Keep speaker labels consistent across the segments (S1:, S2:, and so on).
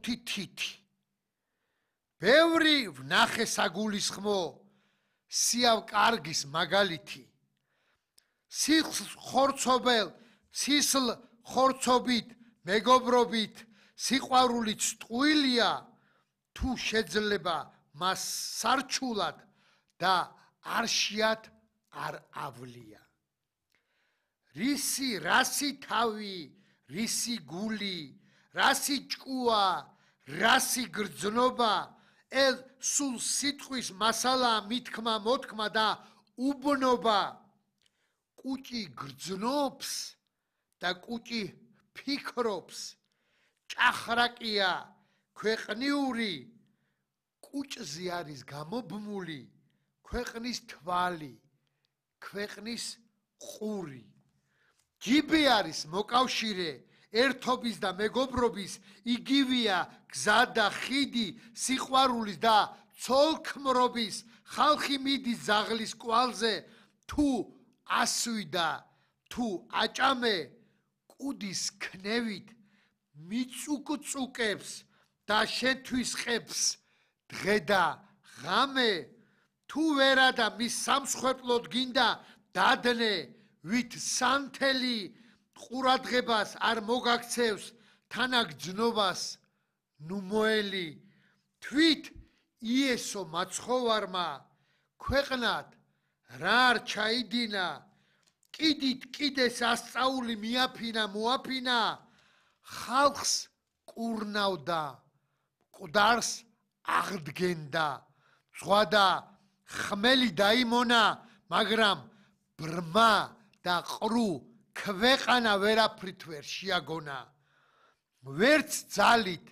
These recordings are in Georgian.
S1: 5 თითი. ბევრი ვნახე საგულისხმო, სიავ კარგის მაგალითი. სისლ ხორცობით, მეგობრობით, სიყვარულით ტყუილია, თუ შეძლება მას სარჩულად და არშიათ არ ავლია. რასი თავი, რისი გული, რასი ჭკუა, რასი გრძნობა, სულ სიტყვის მასალა, მითქმა, მოთქმა და უბნობა. კუჭი გრძნობს და კუჭი ფიქრობს, ჭახრაკია ქვეყნიური, კუჭზე არის გამობმული ქვეყნის თვალი, ქვეყნის ყური. ჯიბი არის მოკავშირე, ერთობის და მეგობრობის, იგივეა გზა და ხიდი, სიყვარულის და ცოლქმრობის, ხალხი მიდის ზაღლის კვალზე, თუ ასვიდა, თუ აჭამე, კუდის ქნევით მიწუკწუკებს და შეთვისყებს დღე და ღამე, თუ ვერა და მის სამსხვერპლოდ გინდა დადნე, ვით სანთელი ყურადღებას არ მოგაქცევს თანაგრძნობას ნუმოელი. თვით იესო მაცხოვარმა ქვეყნად რა არ ჩაიდინა, კიდით კიდეს ასწაული მიაფინა მოაფინა, ხალხს კურნავდა, მკვდარს აღდგენდა, ზღვა და ხმელი დაიმონა, მაგრამ ბრმა და ყრუ ქვეყანა ვერაფრით ვერ შეაგონა. ვერც ძალით,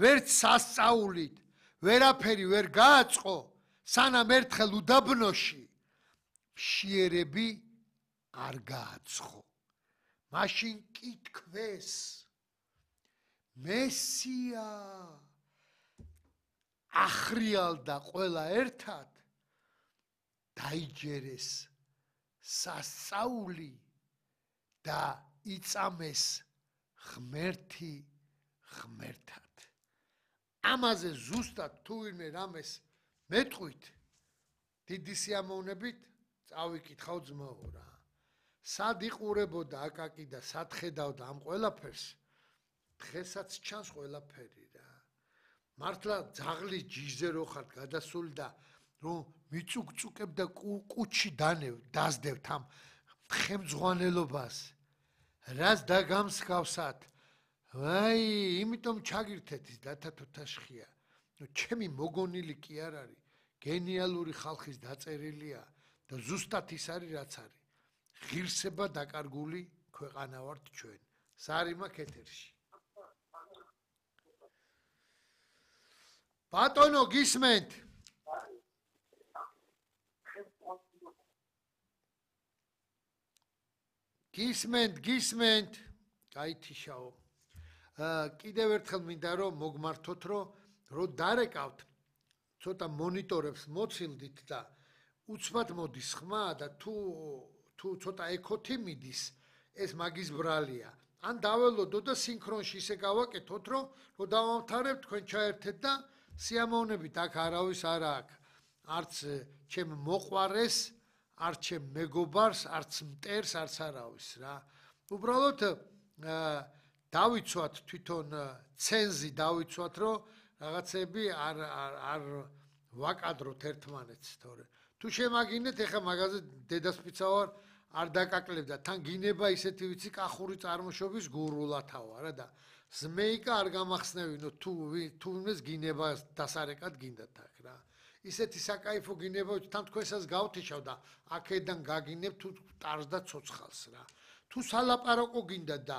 S1: ვერც სასწაულით, ვერაფერი ვერ გააწყო, სანამ ერთხელ უდაბნოში მშიერები არ გააცხო. მაშინ კი თქვეს, მესია ახრიალდა ყველა ერთად, დაიჯერეს სასწაული და იწამეს ღმერთი ღმერთად. ამაზე ზუსტად თუ ვინმე რამეს მეტყვით, დიდი სიამოვნებით წავიკითხავ ძმაო რა. სად იყურებოდა აკაკი და სად ხედავდა ამ ყველაფერს, დღესაც ჩანს ყველაფერი რა. მართლა ძაღლის ჯიჟზე რო ხართ გადასული და რომ მიწუკწუკებ და კუჩი დასდევთ ამ ხემძღვანელობას, რას დაგამსგავსათ, ვაი, იმიტომ ჩაგირთეთ ის დათათოთაშხია. ჩემი მოგონილი კი არ არის, გენიალური ხალხის დაწერილია და ზუსტად ის არის რაც არის. ღირსება დაკარგული ქვეყანა ვართ ჩვენ. სარიმა ეთერში. ბატონო გისმენთ? გისმენთ? გაითიშაო. კიდევ ერთხელ მინდა რომ მოგმართოთ, რომ დარეკავთ, ცოტა მონიტორებს მოცილდით და უცბად მოდის ხმა და თუ ცოტა ეკოთი მიდის, ეს მაგის ბრალია. ან დაველოდო და სინქრონში ისე გავაკეთოთ, რომ დავამთავრებთ, თქვენ ჩაერთეთ და სიამოვნებით აქ არავის არ აქვს. არც ჩემ მოყვარეს, არც ჩემ მეგობარს, არც მტერს, არც არავის რა. უბრალოდ დავიცვათ თვითონ ცენზი დავიცვათ, რომ რაღაცები არ ვაკადროთ ერთმანეთს, თორე თუ შემაგინეთ, ეხა მაგაზე დედასპიცა ვარ, არ დაკაკლებდა, თან გინება ისეთი ვიცი კახური წარმოშობის გურულათავა რა და ზმეიკა არ გამახსნევინო თუ ვინმეს გინება დასარეკად გინდათ აქ რა. ისეთი საკაიფო გინება თან თქვენსაც გავთიშავ და აქედან გაგინებ თუ ტარს და ცოცხალს რა. თუ სალაპარაკო გინდათ და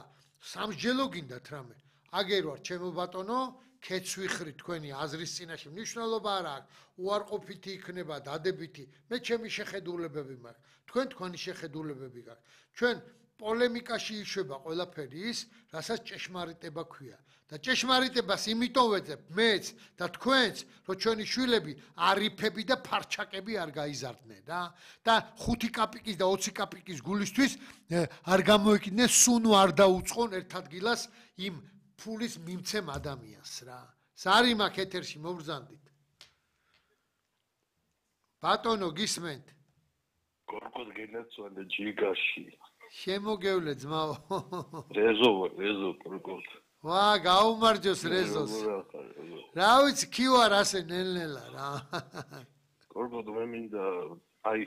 S1: სამსჯელო გინდათ რამე, აგერ ვარ ჩემო ბატონო, ქეცვიხრი თქვენი აზრის წინაშე მნიშვნელობა არ აქვს, უარყოფითი იქნება, დადებითი, მე ჩემი შეხედულებები მაქვს, თქვენ თქვენი შეხედულებები გაქვთ. ჩვენ პოლემიკაში იშვება ყველაფერი ის, რასაც ჭეშმარიტება ქვია. და ჭეშმარიტებას იმიტომ ვეძებ მეც და თქვენც, რომ ჩვენი შვილები არიფები და ფარჩაკები არ გაიზარდნენ რა. და 5 კაპიკის და 20 კაპიკის გულისთვის არ გამოიკიდნენ, სუნუ არ დაუწყონ ერთ ადგილას იმ ფულის მიმცემ ადამიანს რა. ზარი მაქვს ეთერში მობრძანდით. ბატონო გისმენთ?
S2: გორგოს გენაცვალე ჯიგაში.
S1: შემოგევლე ძმაო.
S2: რეზო გორგოს.
S1: ვა, გაუმარჯოს რეზოს. რა ვიცი, კი ვარ ასე ნელ-ნელა რა.
S2: გორგოს მე მინდა აი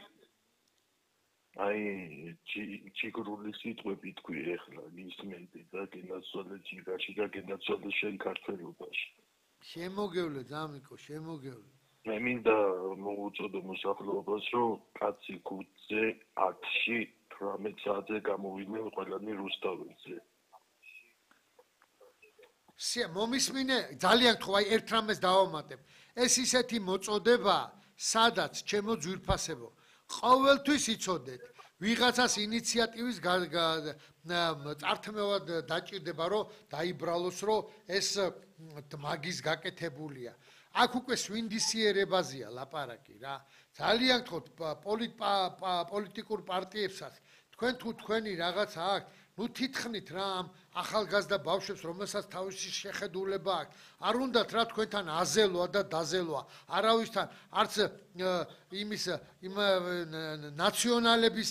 S2: ჩიგრული სიტყვები თქვი ეხლა გისმენდი და გენაცვალე ჯიგაში და გენაცვალე შენ ქართველობაში.
S1: შემოგევლე ძამიკო, შემოგევლე.
S2: მე მინდა მოუწოდო მოსახლეობას რომ კაცი ქუჩზე 10-ში 18 საათზე გამოვიდნენ ყველანი რუსთაველზე.
S1: მომისმინე ძალიან ხო აი ერთ რამეს დავამატებ. ეს ისეთი მოწოდება, სადაც ჩემო ძვირფასებო, ყოველთვის იცოდეთ, ვიღაცას ინიციატივის წართმევად დაჭირდება, რომ დაიბრალოს, რომ ეს მაგის გაკეთებულია. აქ უკვე სვინდისიერებაზეა ლაპარაკი რა. ძალიან გთხოვთ პოლიტიკურ პარტიებსაც, თქვენ თუ თქვენი რაღაცა აქვს, ნუ თითქმით რა ამ ახალგაზრდა ბავშვებს, რომელსაც თავისი შეხედულება აქვს, არ უნდათ რა თქვენთან აზელვა და დაზელვა, არავისთან, არც იმის ნაციონალების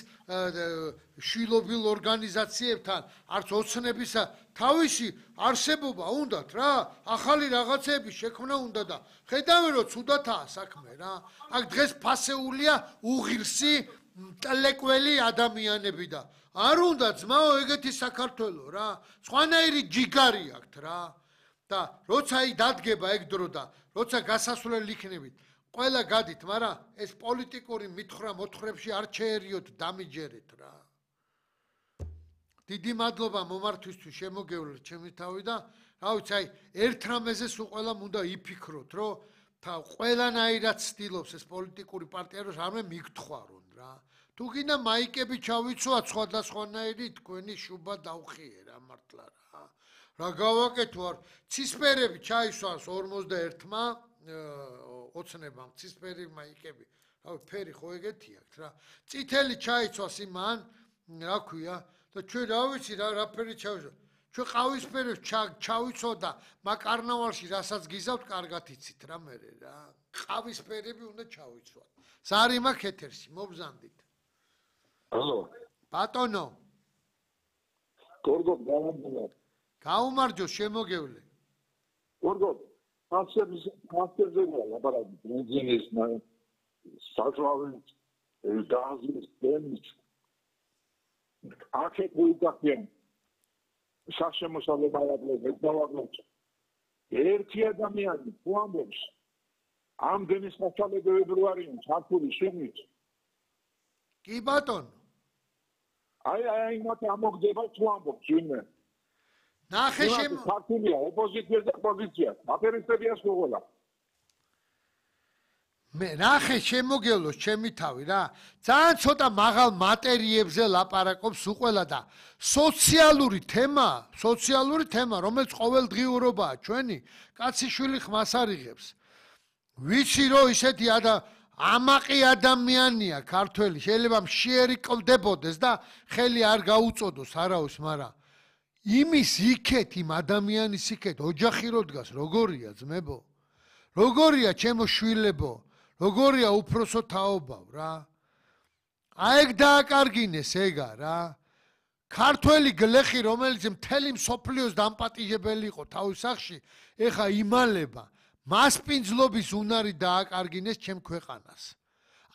S1: შვილობილ ორგანიზაციებთან, არც ოცნების თავისი არსებობა უნდათ რა, ახალი რაღაცების შექმნა უნდა და ხედავენ რომ ცუდათაა საქმე რა. აქ დღეს ფასეულია უღირსი ტლეკველი ადამიანები და არ უნდა ძმაო ეგეთი საქართველო რა. სხვანაირი ჯიგარი აქვთ რა. და როცა აი დადგება ეგ დრო და როცა გასასვლელი იქნებით, ყველა გადით, მაგრამ ეს პოლიტიკური მითხრა-მოთხრებში არ შეერიოთ დამიჯერეთ რა. დიდი მადლობა მომართვისთვის შემოგევლეთ ჩემი თავი და რა ვიცი აი ერთ რამეზე სულ ყველამ უნდა იფიქროთ, რომ ყველანაირად ცდილობს ეს პოლიტიკური პარტია რომ რამე მიგთხვარონ რა. თუ გინდა მაიკები ჩავიცვათ სხვადასხვანაირი თქვენი შუბა დავხიე რა მართლა რა. რა გავაკეთო არ ცისფერები ჩაისვას 41-მა ოცნებამ ცისფერი მაიკები. რა ფერი ხო ეგეთი აქვს რა. წითელი ჩაიცვას იმან რა ქვია და ჩვენ რა ვიცი რა ფერი ჩავიცვა. ჩვენ ყავისფერებს ჩავიცო და მაკარნავალში რასაც გიზავთ კარგად იცით რა მე რა. ყავისფერები უნდა ჩავიცვათ. ზარი მაქვს ეთერში მობზანდით.
S2: ალო
S1: ბატონო
S3: გორგო გამარჯობა.
S1: გაუმარჯოს შემოგევლე.
S3: გორგო ფასერზეა ლაპარაკი ბენზინის საჭმლის გაზის დემის აქეთ მოიგახიან საშემოსავლე ბალაკლებს დავაგლოთ ერთი ადამიანი თუ ამბობს ამდენი საშუალებები არიან ჩართული შენით
S1: კი ბატონო
S3: აი მათ ამოგდება თუ ამბობს ვინმე
S1: ნახე
S3: ქართულია ოპოზიცია და პოზიცია აფერისტებია სულ
S1: მე ნახე შემოგევლოს ჩემი თავი რა ძალიან ცოტა მაღალ მატერიებზე ლაპარაკობს უყველა და სოციალური თემა რომელიც ყოველდღიურობაა ჩვენი კაციშვილი ხმას არიღებს ვიცი რომ ისეთი ამაყი ადამიანია ქართველი შეიძლება მშიერი კლდებოდეს და ხელი არ გაუწოდოს არავის მაგრამ იმის იქეთ იმ ადამიანის იქეთ ოჯახი რო დგას როგორია ძმებო როგორია ჩემო შვილებო როგორია უფროსო თაობავ რა აეგ დააკარგინეს ეგა რა ქართველი გლეხი რომელიც მთელი მსოფლიოს დამპატიჟებელი იყო თავის სახში ეხა იმალება მასპინძლობის უნარი დააკარგინეს ჩემ ქვეყანას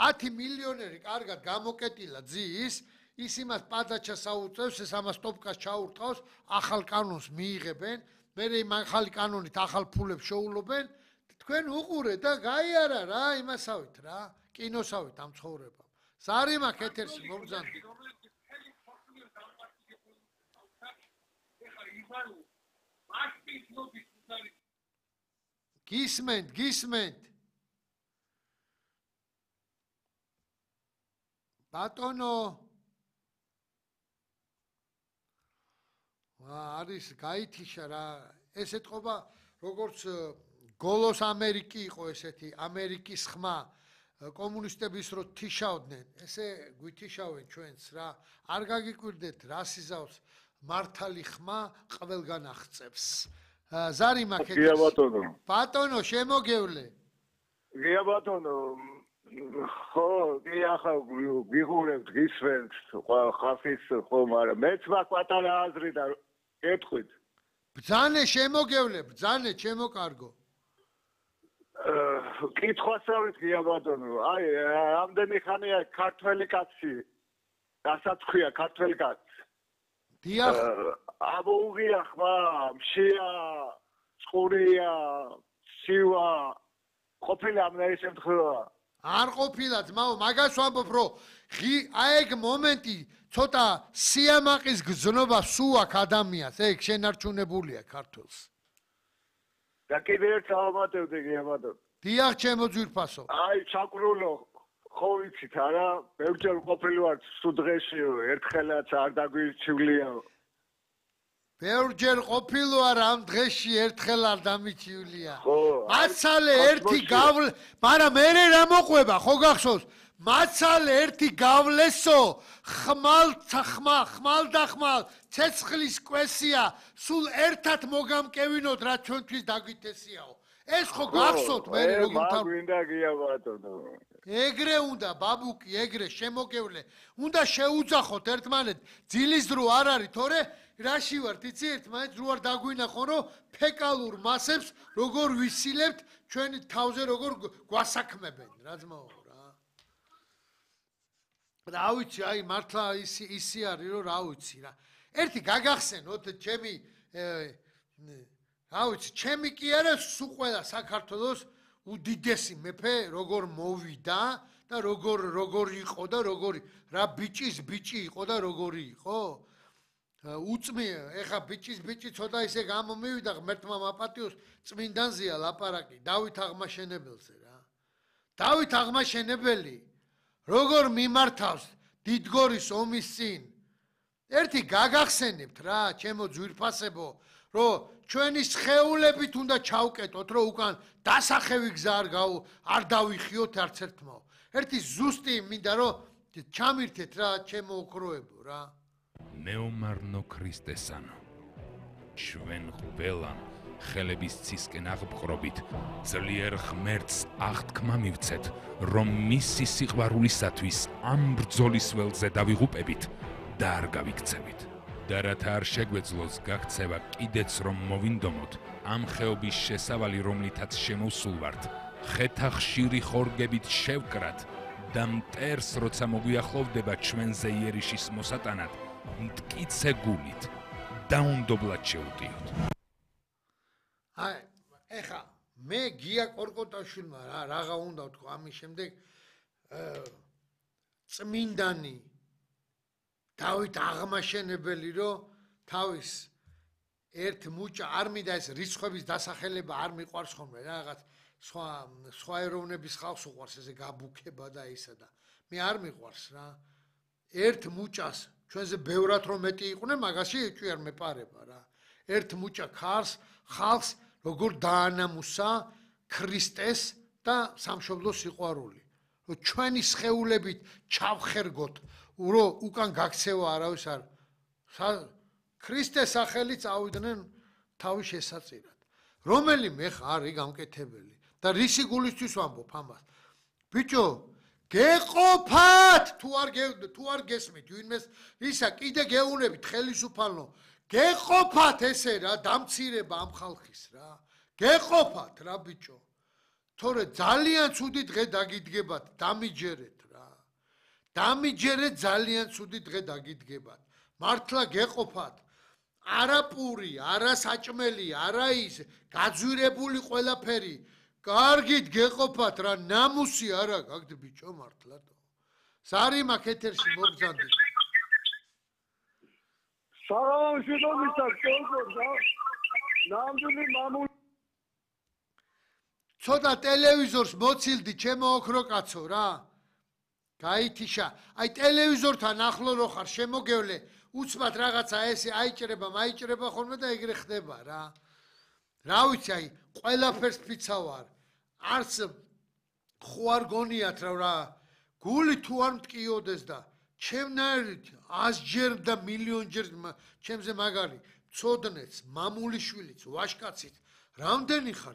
S1: 10 მილიონერი კარგად გამოკეტილა ძის ის იმას პადაჩას აუწევს ეს ამას ტოპკას ჩაურტყავს ახალ კანონს მიიღებენ მე იმ ახალი კანონით ახალ ფულებს შეულობენ თქვენ უყურეთ და გაიარა რა იმასავით რა კინოსავით ამ ცხოვრებამ ზარი მაქვს ეთერში მომბრძანდი გისმენთ ბატონო არის გაითიშა რა ეს ეთყობა როგორც გოლოს ამერიკი იყო ესეთი ამერიკის ხმა კომუნისტების რო თიშავდნენ ესე გვითიშავენ ჩვენს რა არ გაგიკვირდეთ რა სიზავს მართალი ხმა ყველგან აღწევს. ზარი მაქეთ.
S3: გია ბატონო.
S1: ბატონო, შემოგევლე.
S3: გია ბატონო. ხო, კი ახლა გიღურებთ, გისვენთ, ხალხის ხო, მაგრამ მეც მაქვს პატარა აზრი და კეთხვით.
S1: ბძანე შემოგევლე, ბძანე ჩემო კარგო.
S3: კითხვასავით გია ბატონო. აი, ამდენი ხანია ქართველი კაცი. რასაც ქვია ქართველი კაცი.
S1: დიახ.
S3: აბოუღია ხმა, მშია, წყურია, სივა. ყოფილი ამ ეს შემთხვევა.
S1: არ ყოფილა ძმაო, მაგას ვამბობ, რომ აი ეგ მომენტი ცოტა სიამაყის გზნობა სულ აქ ადამიანს, ეგ შენარჩუნებულია ქართველს.
S3: და კიდე ერთ ავამატებდი გია ბატონო.
S1: დიახ, ჩემო ძვირფასო.
S3: აი, ჩაკრულო ხო ვიცით არა, ბევრჯერ ყოფილი ვარ სუდღეში, ერთხელაც არ დაგვირჩივლია.
S1: ბევრჯერ ყოფილი ვარ ამ დღეში, ერთხელ არ დამიჩივლია.
S3: ხო.
S1: მაცალე ერთი გავლე, მაგრამ მე რა მოყვება, ხო გახსოვს? მაცალე ერთი გავლესო, ხმალ და ხმალ, ცეცხლის კვესია, სულ ერთად მოგამკევინოთ, რა ჩვენთვის დაგვითესიაო. ეს ხო გახსოვთ მე როგორ
S3: თავ გვინდა გია ბატონო.
S1: ეგრე უნდა ბაბუკი, ეგრე შემოგევლე. უნდა შეუძახოთ ერთმანეთ, ძილის დრო არ არის, თორე რაში ვართ, იცი ერთმანეთ რო არ დაგვინახო, რომ ფეკალურ მასებს როგორ ვისილებთ, ჩვენი თავზე როგორ გვასაქმებენ, რა ძმაო რა. რა ვიცი, აი მართლა ისი არის, რომ რა ვიცი რა. ერთი გაგახსენოთ ჩემი რა ვიცი, ჩემი კი არა, სულ ყველა საქართველოს უდიდესი მეფე როგორ მოვიდა და როგორ იყო და როგორი რა ბიჭის ბიჭი იყო და როგორი იყო? უწმია, ეხა ბიჭი ცოტა ისე გამომივიდა, ღმერთმა მაპატიოს, წმინდანზეა ლაპარაკი, დავით აღმაშენებელზე რა. დავით აღმაშენებელი როგორ მიმართავს დიდგორის ომის წინ. ერთი გაგახსენებთ რა, ჩემო ძვირფასებო, რომ ჩვენი სხეულებით უნდა ჩავკეტოთ, რომ უკან დასახევი გზა არ დავიხიოთ არც ერთმაო. ერთი ზუსტი მინდა რომ ჩამირთეთ რა, ჩემო ოქროებო რა.
S4: მეომარნო ქრისტესანო, ჩვენ ყველამ ხელების ცისკენ აღბხრობით ძლიერ ღმერთს აღთქმა მივცეთ, რომ მისი სიყვარულისათვის ამ ბრძოლის ველზე დავიღუპებით და არ გავიქცევით. და რათა არ შეგვეძლოს გაქცევა კიდეც რომ მოვინდომოთ ამ ხეობის შესავალი, რომლითაც შემოსულ ვართ, ხეთა ხშირი ხორგებით შევკრათ და მტერს როცა მოგვიახლოვდება ჩვენზე იერიშის მოსატანად, მტკიცე გულით დაუნდობლად შევუტიოთ.
S1: აი, ეხა მე გია კორკოტაშვილმა რაღა უნდა ვთქვა ამის შემდეგ წმინდანი დავით აღმაშენებელი, რომ თავის ერთ მუჭა არ მინდა ეს რიცხვების დასახელება არ მიყვარს ხოლმე რაღაც სხვა ეროვნების ხალხს უყვარს ესე გაბუქება და ისა და მე არ მიყვარს რა. ერთ მუჭას ჩვენზე ბევრად რომ მეტი იყვნენ, მაგაში ეჭვი არ მეპარება რა. ერთ მუჭა ხალხს როგორ დაანამუსა ქრისტეს და სამშობლოს სიყვარული. რომ ჩვენი სხეულებით ჩავხერგოთ, რომ უკან გაქცევა არავის არ ქრისტეს სახელით წავიდნენ თავის შესაწირად. რომელიმე ხარ არის გამკეთებელი და რისი გულისთვის ვამბობ ამას. ბიჭო, გეყოფათ თუ არ გესმით ვინმეს ისა კიდე გეუნებით ხელისუფალო. გეყოფათ ესე რა დამცირება ამ ხალხის რა. გეყოფათ რა ბიჭო. თორე ძალიან ცუდი დღე დაგიდგებათ, დამიჯერეთ რა. დამიჯერეთ ძალიან ცუდი დღე დაგიდგებათ. მართლა გეყოფათ. არა პური, არა საჭმელი, არა ის გაძვირებული ყველაფერი. კარგით გეყოფათ რა, ნამუსი არა გაქვთ ბიჭო მართლა. ზარი მაქვს ეთერში მოგზანდით.
S3: საღამოშიდომისა ნამდვილი მამული
S1: ცოტა ტელევიზორს მოცილდი ჩემო ოქრო კაცო რა. გაითიშა. აი ტელევიზორთან ახლო რო ხარ შემოგევლე, უცბად რაღაცა ესე აიჭრება, მაიჭრება ხოლმე და ეგრე ხდება რა. რა ვიცი, აი ყველაფერს ფიცავარ. არც ხო არ გონიათ რა, გული თუ არ მტკიოდეს და ჩემნაირად 100-ჯერ და მილიონჯერ ჩემზე მაგარი ცოდნეც, მამულიშვილიც, ვაშკაცით, რამდენი ხარ